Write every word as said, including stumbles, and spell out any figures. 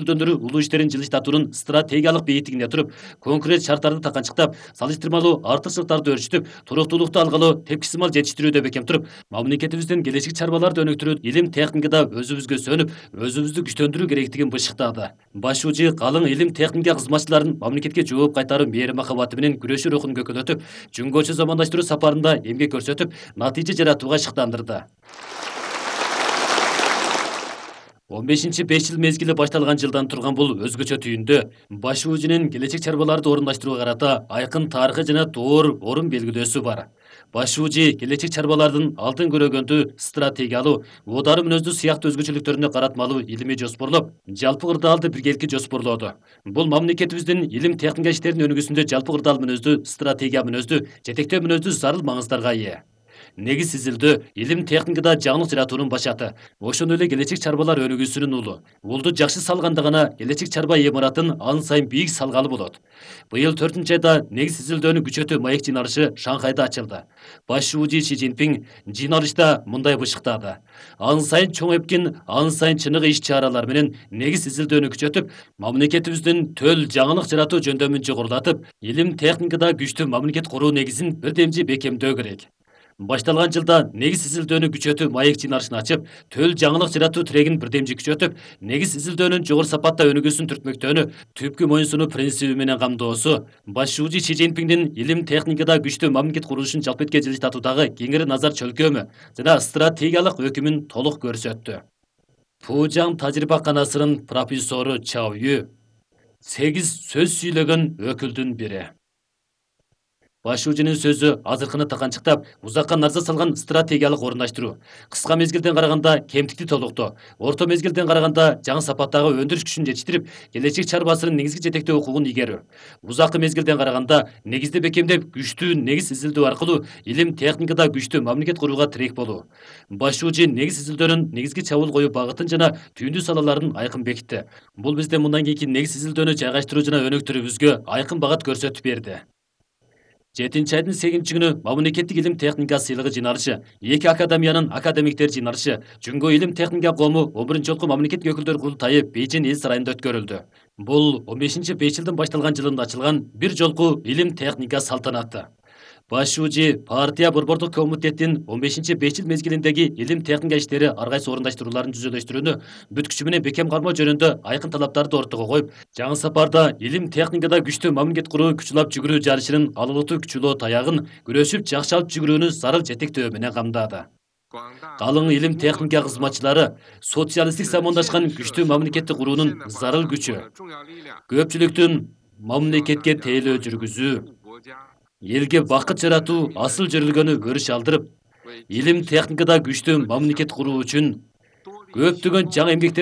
көпүлдүндүрүү улуу иштерин жылыштатуунун стратегиялык бейиттигине туруп, конкрет шарттарды таканчыктап, салыштырмалуу артыкчылыктарды өрчүтүп, туруктуулукту алгалы тепкисимал жетиштирүүдө бекем туруп, мамлекетибиздин келечек чарбаларды өнүктүрүү, илим техникада өзүбүзгө сөнүп, өзүбүздү күчтөндүрүү керектигин бышыктады. Башчы калың илим техника кызматчыларын мамлекетке жооп кайтаруу мээри махабаты менен күрөшүү рухун көкөлөтүп, жөнгөчө замандаштыруу сапарында эмгек көрсөтүп, натыйжа жаратууга шыктандырды. он бешинчи беш жыл мезгили башталган жылдан турган бул өзгөчө түйүндө баш уужунун келечек чарбаларды орундаштырууга карата айкын тарыхы жана доор орун белгилөөсү бар. Баш уужу келечек чарбалардын алдын көрөгөндүү, стратегиялуу, оодару мүнөздүү сыяктуу өзгөчөлүктөрүнө каратмалуу илимий жоспорлоп, жалпы кырдаалды биргеликке жоспорлоодо. Бул мамлекетибиздин илим техника иштеринин өнүгүүсүндө жалпы кырдаал мүнөздүү, стратегия мүнөздүү, жетектөө мүнөздүү зарыл маңыздарга ээ. Негиз изилдөө илим техникада жаңылык жаратуунун башаты. Ошондой эле келечек чарбалар өнүгүүсүнүн улу. Улду жакшы салганда гана келечек чарба имаратын ан сайын бийик салгалы болот. Быйыл төртүнчү айда негиз изилдөөнү күчөтүү маек жыйналышы Шанхайда ачылды. Баш уужу Си Цзиньпин жыйналышта мындай бышыктады. Ан сайын чоң эпкин, ан сайын чыныгы иш-чаралар менен негиз изилдөөнү күчөтүп, мамлекетибиздин төл жаңылык жаратуу жөндөмүн жогорулатып, илим техникада күчтүү мамлекет куруу негизин бирдемжи бекемдөө керек. Башталган жылда негиз изилдөөнү күчөтүү маек жыйналышын ачып, төл жаңылык жаратуу тирегин бирдемжи күчөтүп, негиз изилдөөнүн жогору сапатта өнүгүүсүн түртмөктөөнү, түпкү моюнсунуу принциби менен камдоосу, баш уужу Си Цзиньпиндин илим техникада күчтүү мамлекет курулушун жалпы этке жылыштатуудагы кеңири назар чөлкөмү жана стратегиялык өкүмүн толук көрсөттү. Фужан тажрыйбаканасынын профессору Чао Ю сегиз сөз сүйлөгөн өкүлдүн бири. Баш уужунун сөзү азыркыны таканчыктап, узакка нарза салган стратегиялык орундаштыруу. Кыска мезгилден караганда кемтикти толуктоо, орто мезгилден караганда жаңы сапаттагы өндүрүш күчүн жетиштирип, келечек чарбасынын негизги жетектөө укугун игерүү. Узаккы мезгилден караганда негизди бекемдеп, күчтүү негиз изилдөө аркылуу илим техникада күчтүү мамлекет курууга тирек болуу. Баш уужу негиз изилдөөнүн негизги чабуул коюу багытын жана түйүндүү салаларын айкын бекитти. Бул бизде мындан кийинки негиз изилдөөнү жайгаштыруу жана өнүктүрүүбүзгө айкын багыт көрсөтүп берди. жетинчи айдын сегизинчи күнү мамлекеттик илим техника сыйлыгы жыйналышы, эки академиянын академиктер жыйналышы, Жөнгө илим техника кому он биринчи жолку мамлекеттик өкүлдөр курултайы Бейжиң эл сарайында өткөрүлдү. Бул он бешинчи беш жылдын башталган жылында ачылган бир жолку илим техника салтанаты. Баш уужу партия борбордук комитеттин он бешинчи беш жыл мезгилиндеги илим техника иштери ар кайсы орундаштырууларын жүзөлөштүрүүнү бүт күчү менен бекем кармоо жөнүндө айкын талаптарды ортого коюп, жаңы сапарда илим техникада күчтүү мамлекет куруу күчүлап жүгүрүү жарышынын алылытуу күчүлөө таягын күрөшүп жакшы алып жүгүрүүнү зарыл жетектөө менен камдады. Калың илим техника кызматчылары социалисттик замандашкан күчтүү мамлекетти куруунун зарыл күчү. Көпчүлүктүн мамлекетке тейлөө жүргүзүү, элге бакыт жаратуу асыл жөрүлгөнү өрүш алдырып, илим техникада күчтүү мамлекет куруу үчүн көптөгөн жаңы эмгектер